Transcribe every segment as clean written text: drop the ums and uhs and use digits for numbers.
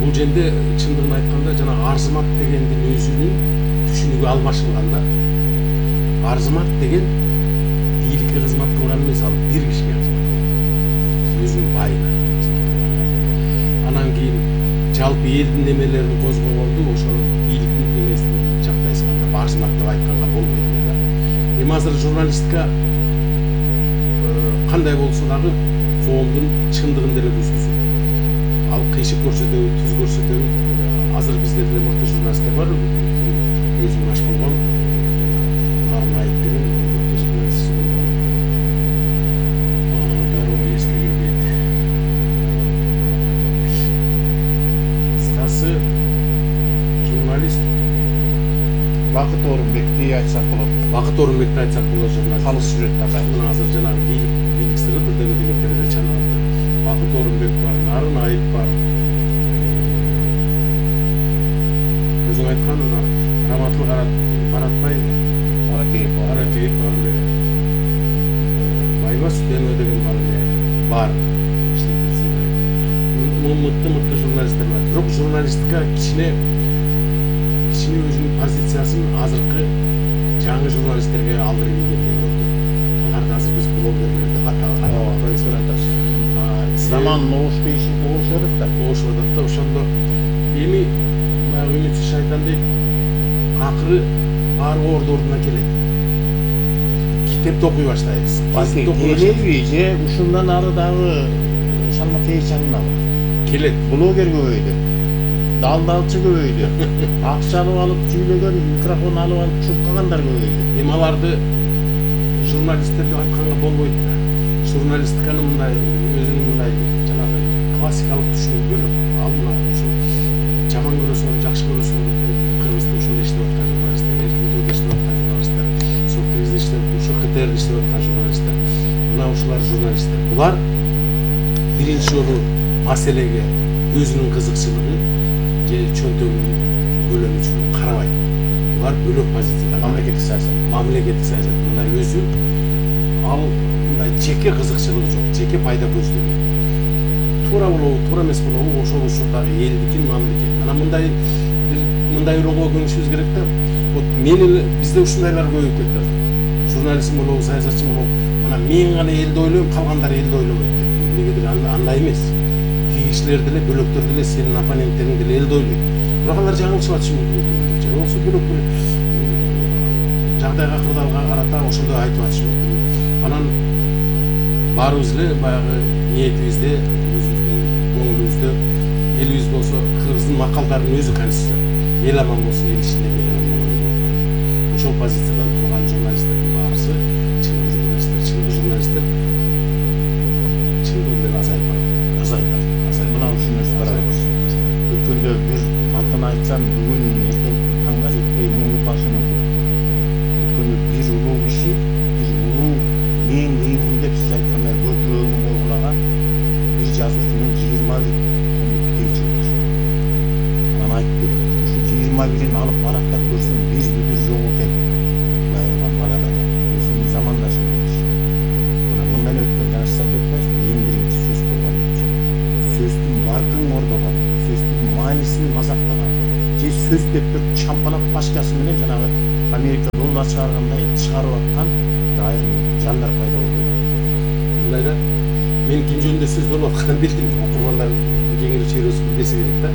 бул жерде чындыгын айтканда жана арзымат дегендин өзүнүн түшүнүгү албашылганда, арзымат деген бийликке кызмат кылган эмес, ал бир кишиге кызмат кылган, өзүнүн байына кызмат кылган. Анан кийин жалпы элдин немелерин козгогонду ошо бийликтин немесин жактай салганда арзымат деп айтканга болбойт да. Эми азыр журналистика кандай болсо дагы коомдун чындыгын деле көзгөзөт. Ал кыйшык көрсөтөбү, түз көрсөтөбү. Азыр бизде деле мыкты журналисттер бар. Өзүм аш болгон Нарын Айып деген мыкты журналист болгон. Дароо эске келбейт. Кыскасы журналист Бакыт Орунбекти айтсак болот. Бакыт Орунбекти айтсак болот журналист. Калыс сүрөт ага. Мына азыр жанагы бийлик сыры бирдеме деген тереде чаналат. Бакыт Орунбек бар, Нарын Айып бар. Өзүң айткан Раматыл Баратбай, Аракеев бар эле. Байбас Дено деген бар эле. Бар. Мыкты журналисттер бар. Бирок журналистика кичине өзүнүн позициясын азыркы жаңы журналисттерге алдырып ийгендей болду. Аларды азыр биз блогерлер деп атабыз. Заман оошку иши оошуп атат да. Ошондо эми баягы үмүтсүз шайтан дейт, акыры баары ордуна келет. Китепти окуй баштайбыз. Келеби же ушундан ары дагы шалмакей чаңнабы? Келет. Блогер көбөйдү. Далдалчы көбөйдү. Акча алып сүйлөгөн, микрофон алып чуркагандар көбөйдү. Эми аларды журналисттер деп айтканга болбойт да. Журналистиканы мындай өзүнүн мындай жанагы классикалык түшүнүгү бөлөк. Ал мына ушу жаман көрөсүң, жакшы көрөсүң, Кыргызда ушундай иштеп аткан журналисттер, Эркинтөөдө иштеп аткан журналисттер, Соктегизде иштеп, ушу КТРде иштеп аткан журналисттер. Мына ушулар журналисттер. Булар биринчи жолу маселеге өзүнүн кызыкчылыгы же чөнтөгүнүн көлөмү үчүн карабайт. Булар бөлөк позицияда. Мамлекеттик саясат. Мындай өзү ал мындай жеке кызыкчылыгы жок, жеке пайда көздөгөн. Туура болобу, туура эмес болобу, ошол ушундагы элдикин, мамлекет. Анан мындай ойлоого көнүшүбүз керек да. Вот мен эле бизде ушундайлар көбөйүп кетти азыр. Журналист болобу, саясатчы болобу, мына мен гана элди ойлойм, калгандар элди ойлобойт деп. Эмнегедир андай эмес. Кишилер деле, бөлөктөр деле, сенин оппоненттериң деле элди ойлойт. Бирок алар жаңылышып атышы мүмкүн. Болсо бөлөк бир жагдайга, кырдаалга карата ошондой айтып атышы мүмкүн. Анан баарыбыз эле баягы ниетибизде, өзүбүздүн көңүлүбүздө элибиз болсо кыргыздын макалдарынын өзү конституция. Эл аман болсун, эл ичинде эл аман болот. Ошол позициядан турган журналисттердин баарысы чыныгы журналисттер чындыгы менен азайып Мына ушуну сурайбыз. Өткөндө бир атын айтсам, бүгүн эртең таңга жетпей муну башы мүмкүн. Өткөндө бир улуу киши, бир улуу мен кыймын деп сиз айткандай көкүрөгүн койгулаган бир жазуучунун 21 томдук китеби чыкты. Анан айтты, ушу 21-ин алып барактап көрсөм бир бүдүр жок экен. Манада өзүнүн замандашы киши. Мына мындан өткөн жана сиз айтып атпайсызбы, эң биринчи сөз болгон. Сөздүн баркын ордогон, сөздүн маанисин мазактаган, же сөз деп туруп чампалап башкасы менен жанагы Америка доллар чыгаргандай чыгарып аткан айрым жандар пайда болду. Мындай да, мен ким жөнүндө сөз болуп атканын билдим. Окурмандар кеңири чөйрөсү билбесе керек да.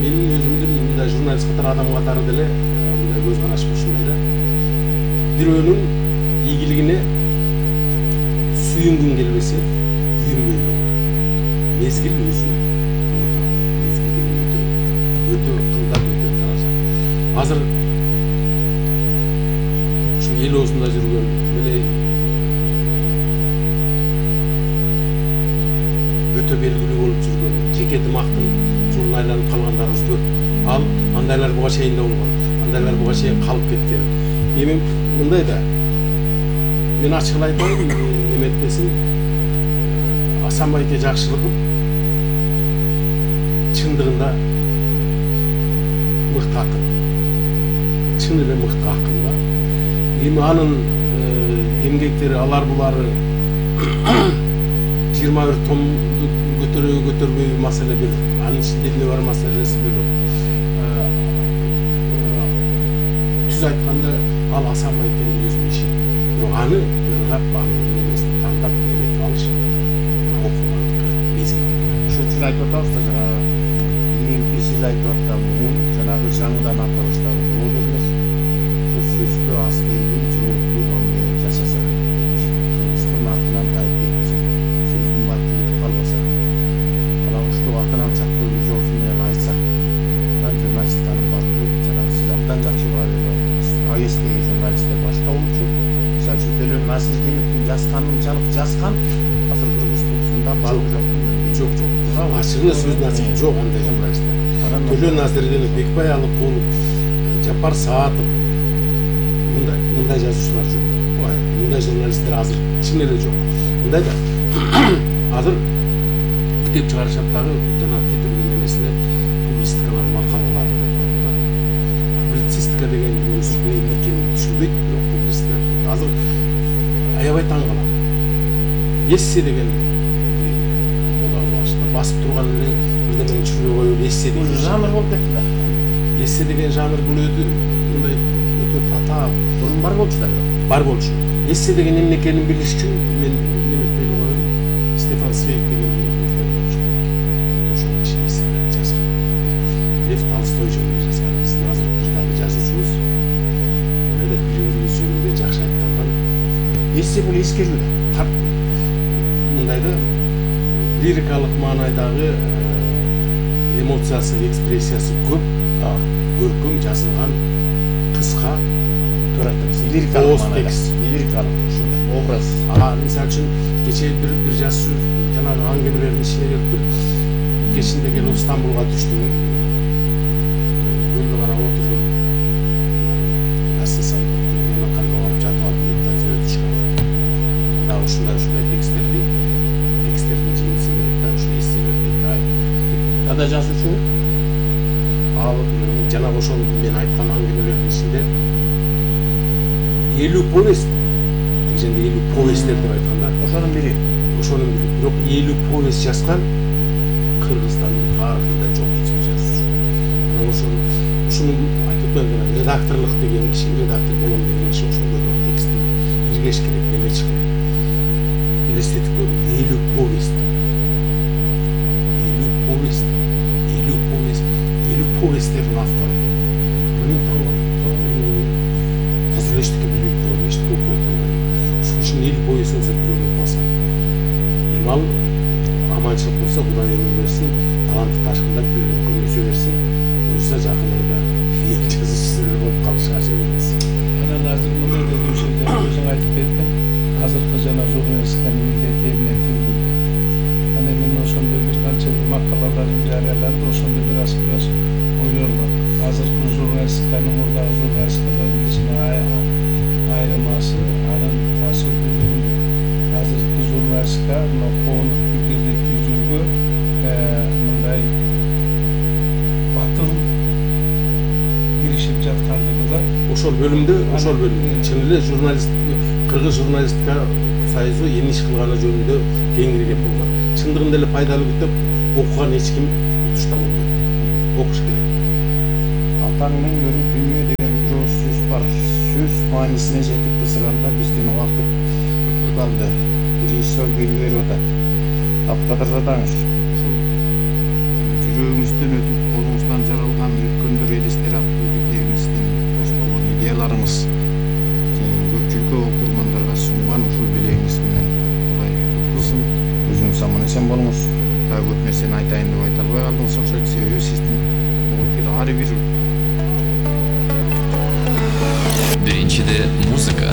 Менин өзүмдүн мындай журналист катары адам катары деле мындай көз карашым ушундай да. Бирөөнүн ийгилигине сүйүнгүң келбесе, күйүнбөй кал. Мезгил өзү. Мезгил деген өтө кымбат, өтө тараза. Азыр ушу эл оозунда жүргөн эле өтө белгилүү болуп жүргөн жеке дымактын жолуна айланып калгандарыбыз көп. Ал андайлар буга чейин да болгон. Андайлар буга чейин калып кеткен. Эми мындай да. Мен ачык айтайын, неметпесин Асанбайке Жакшылыков чындыгында мыкты акын. Чын эле мыкты акын да. Эми анын эмгектери алар булары 21 томду көтөрбөйбү маселе бөлөк. Анын ичинде эмне бар маселеси бөлөк. Түз айтканда ал асан байкенин өзүнүн иши. Бирок аны ыргап, анын немесин тандап эметип алыш окугандыкы мезгилдеги. Ошол үчүн айтып атабыз да, жанагы кийинки сиз айтып аткан жанагы жаңыдан аталыштагы блогерлер сөзгө астыйдын жооптуу мамиле жашаса, кылмыштын артынан тайып кетпесе, сөздүн баты кетип калбаса, алагуштуу атынан чакырып өз оозу менен айтса, анан журналистканын баты жанагы сиз абдан жакшы баа берип айттыңыз. АГСтеги журналисттер башка болчу. Мисалы үчүн Төлөн Насирдиновдун жазганынчалык жазган азыр Кыргызстанда бары жоктун Жок. Ачыгы сөздүн ачыгы жок андай журналисттер. Төлөн Насирдинов, Бекбай Алыкулов, Жапар Саатов мындай жазуучулар жок. Мындай журналисттер азыр чын эле жок. Мындай да азыр китеп чыгарышат дагы жанагы китептин немесине публистикалар, макалалар деп коет да. Публицистика дегендин өзү эмне экенин түшүнбөйт, бирок публистика деп коет. Азыр аябай таң калам. Эссе деген басып турган эле бирдемени түшүрбөй коюп эссе деген жанр болуп кетти да. Эссе деген жанр бул мындай өтө татаал. Бурун бар болчу да. Бар болчу. Эссе деген эмне экенин билиш үчүн мен неметпей коеюн. Стефан Цвейг деген ошол киши эсселерди жазган. Лев Толстой жөнүндө жазган. Биздин азыр бир дагы жазуучубуз бири-бирибиз жөнүндө жакшы айткандан Эссе бул эскерүү да. Мындай да лирикалык маанайдагы эмоциясы, экспрессиясы көп, көркөм жазылган кыска лирикалык текст, лирикалык ушундай образ. Мисалы үчүн кечээ бир жазуучу жанагы аңгемелердин ичине келип бир кечинде келип Стамбулга түштүм. Көлдү карап отурдум. Насысан мени калма барып жатып алып да сөз түшкөн. Дагы ушундай тексттердин жыйынтысын берет да, ушул эсселер дейт. Кандай жазуучу? Ал жанагы ошол мен айткан аңгемелердин ичинде 50 повесть, дегенде 50 повесттер деп айтканда, ошонун бири. Бирок 50 повесть жазган Кыргызстандын тарыхында жок эч бир жазуучу. Анан ушуну айтып атпаймынбы, редакторлук деген киши, редактор болом деген киши ошондой текстти иргеш керек, немеч керек. Элестетип 50 повесть. 50 повесттердин автору. Мен таң тазыр эчтеке билбей турган, эчтеке окуп турган. Ушул үчүн 50 повесть болсо бирөөнү окубасам. Имал аманчылык болсо Кудай өмүр берсин, таланты ташкындап көмөсө берсин. Буюрса жакындарда эл жазуучусу болуп калыш ажып эмес. Анан азыр мындай да өзүң айтып кеттиң. Азыркы жана журналистиканын милдети эмне тийгилди. Анан мен ошондо бир канча макалаларын жарыяладым, ошондо бир аз ойлор бар. Азыркы журналистиканын мурдагы журналистикалардын ичинде айырмасы анын таасирдүүлүгүндө. Азыркы журналистика мына коомдук пикирди түзүүгө мындай батыл киришип жаткандыгы да. Ошол бөлүмдө чын эле Кыргыз журналистика союзу эми иш кылганы жөнүндө кеңири кеп болгон. Чындыгында эле пайдалуу деп окуган эч ким утуштан болбойт. Окуш керек. Атаңдын көрү дүйнө деген бир ооз сөз бар. Сөз маанисине жетип кызыганда биздин убакыт калды. Режиссер белги берип атат. Абдыкадыр Задаңов. Жүрөгүңүздөн өтүп, колуңуздан жаралган өткөндөр элестер аттуу китебиңиздин кошколгон идеяларыңыз көпчүлүккө окурмандарга сунган ушул белегиңиз менен Кудай куткузсын. Өзүңүз аман эсен болуңуз. Дагы көп нерсени айтайын деп айта албай калдыңыз окшойт, себеби сиздин ар бир биринчиде музыка